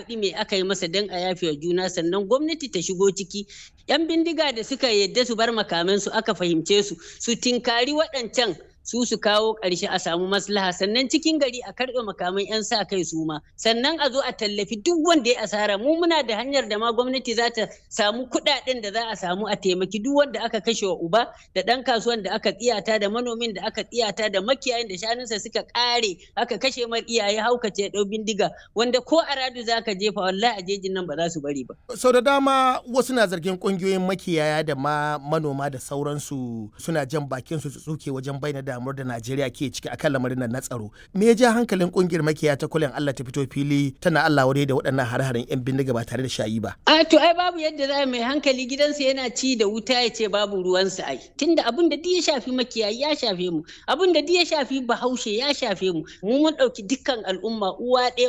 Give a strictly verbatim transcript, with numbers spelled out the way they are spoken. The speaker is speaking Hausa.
faɗi me aka yi masa don a yafe wa juna, sannan gwamnati ta shigo ciki. Yan bindiga da suka yadda su bar makamansu aka fahimce su, su tinkari waɗancan su su kawo ƙarshe a samu maslaha, sannan cikin gari a karɓe makaman 'yan sa kai su ma, sannan a zo a tallafi duk wanda ya asara. Mu muna da hanyar da ma gwamnati za ta samu kuɗaɗen da za a samu a taimaki duk wanda aka kashe wa uba, da ɗan kasuwan da aka tsiyata, da manomin da aka tsiyata, da makiyayin da shanunsa suka ƙare aka kashe mar iyaye, haukace ɗau bindiga, wanda ko a radu za ka jefa, wallahi a jejin nan ba za su bari ba. Sau da dama wasu na zargin ƙungiyoyin makiyaya da ma manoma da sauransu suna jan bakin su tsuke wajen bayyana damuwar da Najeriya ke ciki akan lamarin nan na tsaro. Me ya ja hankalin kungiyar makiya ta kulen Allah ta fito fili tana Allah wadai da waɗannan hare-haren 'yan bindiga ba tare da shayi ba? A to ai babu yadda za mai hankali gidansa yana ci da wuta ya ce babu ruwansa ai. Tunda abin da duk ya shafi makiyayi ya shafe mu, abin da duk ya shafi Bahaushe ya shafe mu. Mu mun ɗauki dukkan al'umma uwa ɗaya.